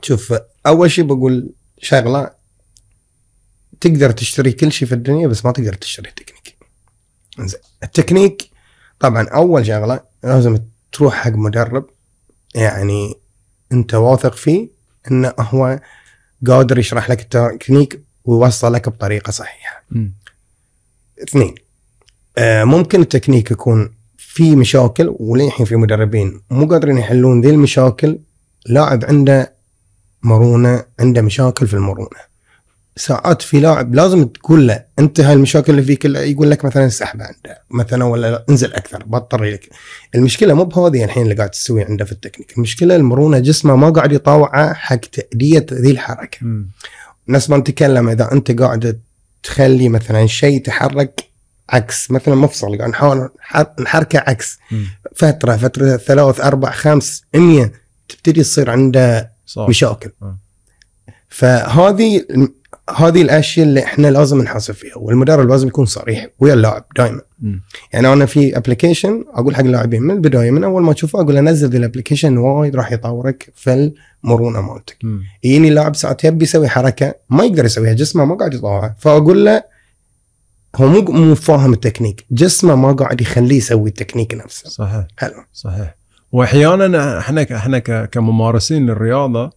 شوف، اول شيء بقول شغله، تقدر تشتري كل شيء في الدنيا بس ما تقدر تشتري تكنيك. زين، التكنيك طبعا اول شغله لازم تروح حق مدرب يعني انت واثق فيه انه هو قادر يشرح لك التكنيك ويوصلك بطريقه صحيحه. 2 ممكن التكنيك يكون في مشاكل، وللحين في مدربين مو قادرين يحلون ذي المشاكل. لاعب عنده مرونه، عنده مشاكل في المرونه. ساعات في لاعب لازم تقول له انت هاي المشاكل اللي فيك، يقول لك مثلا سحبه عنده مثلا، ولا انزل اكثر، بطر لك. المشكله مو بهذه الحين اللي قاعد تسوي عنده في التكنيك، المشكله المرونه، جسمه ما قاعد يطاوعه حق تأدية ذي الحركه. نفس ما نتكلم، اذا انت قاعد تخلي مثلا شيء يتحرك عكس، مثلا مفصل قاعد نحاول نحركه عكس، فتره 3 4 5 100 تبتدي تصير عنده مشاكل. فهذه الاشياء اللي احنا لازم نحاسب فيها، والمدرب لازم يكون صريح ويا اللاعب دائما. يعني انا في ابلكيشن اقول حق اللاعبين من البدايه، من اول ما تشوفه اقول له نزل الابلكيشن، وايد راح يطورك في المرونه مالتك. يجيني اللاعب ساعات يبي يسوي حركه ما يقدر يسويها، جسمه ما قاعد يطاوعها، فاقول له هو مو فاهم التكنيك، جسمه ما قاعد يخليه يسوي التكنيك نفسه. صحيح. حلو. صحيح. واحيانا احنا كممارسين للرياضه،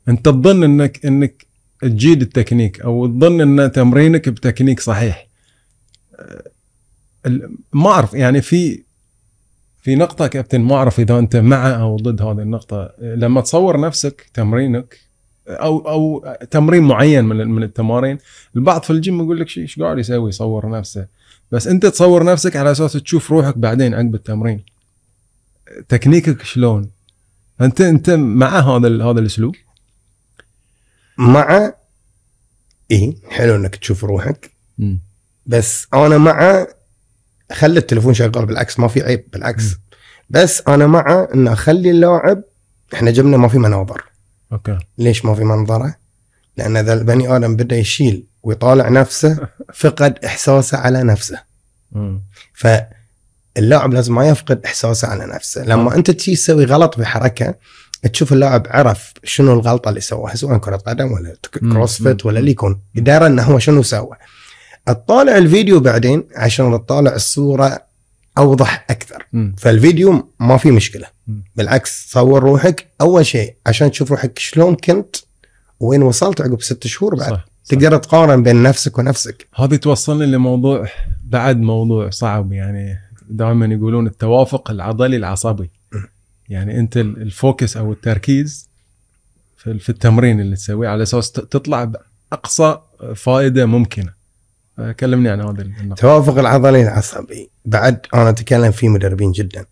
انت تظن انك تجيد التكنيك، او تظن ان تمرينك بتكنيك صحيح. ما اعرف يعني في نقطه كابتن، ما اعرف اذا انت مع او ضد هذه النقطه. لما تصور نفسك تمرينك او تمرين معين من التمارين، البعض في الجيم يقول لك ايش قاعد يسوي، يصور نفسه. بس انت تصور نفسك على اساس تشوف روحك بعدين عقب التمرين تكنيكك شلون. انت مع هذا الاسلوب؟ مع ايه، حلو انك تشوف روحك. بس انا مع خلي التليفون شغال، بالعكس ما في عيب، بالعكس. بس انا مع ان اخلي اللاعب، احنا جبنا ما في مناظر. اوكي. ليش ما في منظره؟ لان اذا البني ادم بدا يشيل ويطالع نفسه فقد احساسه على نفسه. فاللاعب لازم ما يفقد احساسه على نفسه. لما انت تجي تسوي غلط بحركه، تشوف اللاعب عرف شنو الغلطه اللي سواها، سواء كره قدم ولا كروسفيت ولا اللي يكون، يدري انه هو شنو سوى. اطالع الفيديو بعدين عشان اطالع الصوره اوضح اكثر. فالفيديو ما في مشكله، بالعكس صور روحك اول شيء عشان تشوف روحك شلون كنت وين وصلت عقب 6 شهور بعد. صح. تقدر تقارن بين نفسك ونفسك. هذه توصلني لموضوع بعد، موضوع صعب يعني. دائما يقولون التوافق العضلي العصبي. يعني انت الفوكس او التركيز في التمرين اللي تسويه على اساس تطلع باقصى فائده ممكنه. كلمني عن هذا النقطه. التوافق العضلي العصبي بعد انا اتكلم فيه مدربين جدا.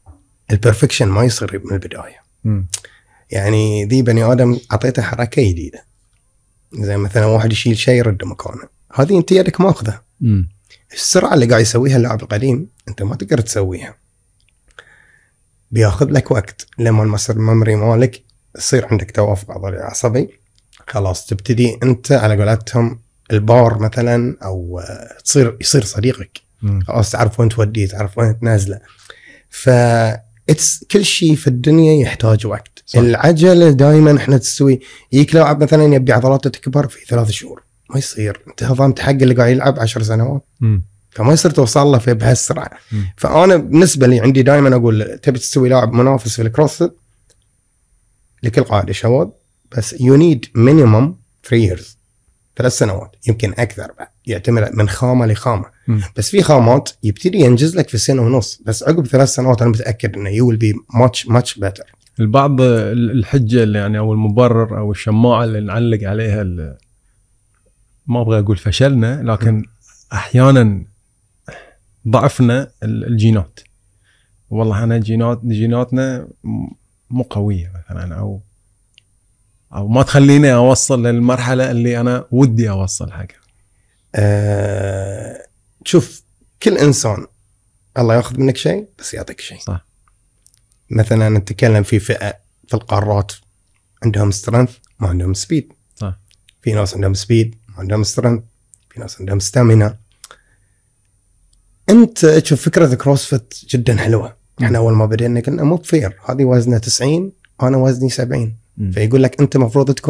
البرفكشن ما يصير من البدايه. يعني ذي بني ادم اعطيته حركه جديده، زي مثلا واحد يشيل شيء يرد مكانه، هذه انت يدك ماخذها. السرعه اللي قاعد يسويها اللاعب القديم انت ما تقدر تسويها، بياخذ لك وقت لما المسار الممري مالك يصير عندك توافق عضلي عصبي. خلاص تبتدي انت على قولتهم البار مثلا، او يصير صديقك. خلاص تعرف وين توديه، تعرف وين تنازله. كل شيء في الدنيا يحتاج وقت. صح. العجله دائما احنا تسوي، يجيك لاعب مثلا يبي عضلاته تكبر في 3 شهور، ما يصير. انت ضامن حق اللي قاعد يلعب 10 سنوات. فما يصير توصل له في بهالسرعه. فانا بالنسبه لي عندي دائما اقول تبي تسوي لاعب منافس في الكروسفيت لكل قاعده شواذ، بس you need minimum 3 years، 3 سنوات يمكن اكثر بعد، يعتمد من خامه لخامه. بس في خامات يبتدي ينجز لك في 1.5 سنة، بس عقب 3 سنوات انا متاكد انه you will be much better. البعض الحجه اللي يعني او المبرر او الشماعه اللي نعلق عليها، ما ابغى اقول فشلنا، لكن احيانا ضعفنا الجينات. والله انا جيناتنا مو قويه مثلا، او ما تخليني اوصل للمرحله اللي انا ودي اوصل حقها. شوف، كل انسان الله ياخذ منك شيء بس يعطيك شيء. صح. مثلا نتكلم في فئه في القارات عندهم سترينث ما عندهم سبيد. صح. في ناس عندهم سبيد ما عندهم سترينث، في ناس عندهم ستامينا. انت تشوف فكره كروسفيت جدا حلوه. احنا اول ما بدينا قلنا مو فير، هذه وزنها 90 وانا وزني 70. فيقول لك انت مفروض تكون